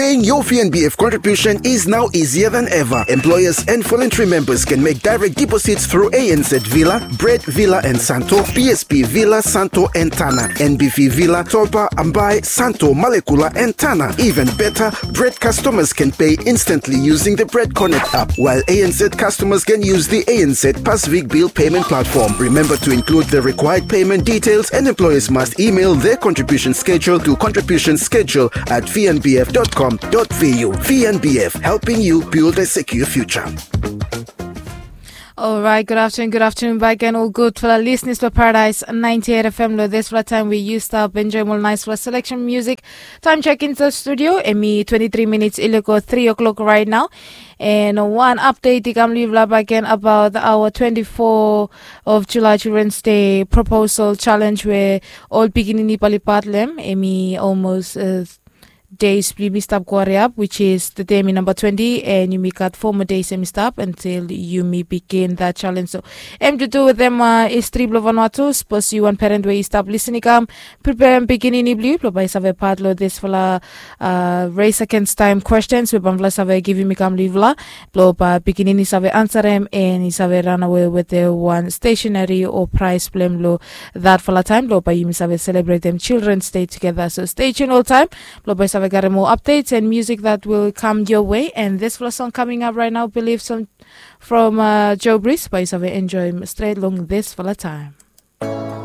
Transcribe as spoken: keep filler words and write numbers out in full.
Paying your V N B F contribution is now easier than ever. Employers and voluntary members can make direct deposits through A N Z Villa, Bread Villa and Santo, P S P Villa, Santo and Tana, N B V Villa, Topa, Ambai, Santo, Malekula and Tana. Even better, Bread customers can pay instantly using the Bread Connect app, while A N Z customers can use the A N Z Pacific Bill Payment Platform. Remember to include the required payment details, and employers must email their contribution schedule to contribution schedule at V N B F dot com dot V U. V N B F, helping you build a secure future. Alright, good afternoon, good afternoon back again. Ol gudfala listeners blong Paradise ninety-eight F M, long disfala taem we yu stap enjoem ol naesfala selection music. Time check inside studio, hemi twenty-three minutes i lego three o'clock right now. And one update i kam long yufala back again about our twenty-four of July Children's Day proposal challenge, we ol pikinini bae oli pat long hem. Hemi almost uh, days blong yumi stap go hariap, which is today hemi number twenty, and yumi gat four more days hemi stap until yumi begin that challenge. So hem to do with them uh, history blong Vanuatu. Sapos yu wan parent we i stap listening, kam preparem pikinini blong yu blong bae i save pat long disfala uh, race against time questions we bamfala save givim i kam long yufala, blong bae pikinini save ansarem and i save ranawe wetem wan stationery o prize blong hem long thatfala taem, blong bae yumi save selebretem Children's Day together. So stay tuned oltaem, blong bae i save karem moa updates and music that will come your way. And disfala song coming up right now, Believe, from uh, Joe Breeze, bae i save enjoem stret long disfala taem.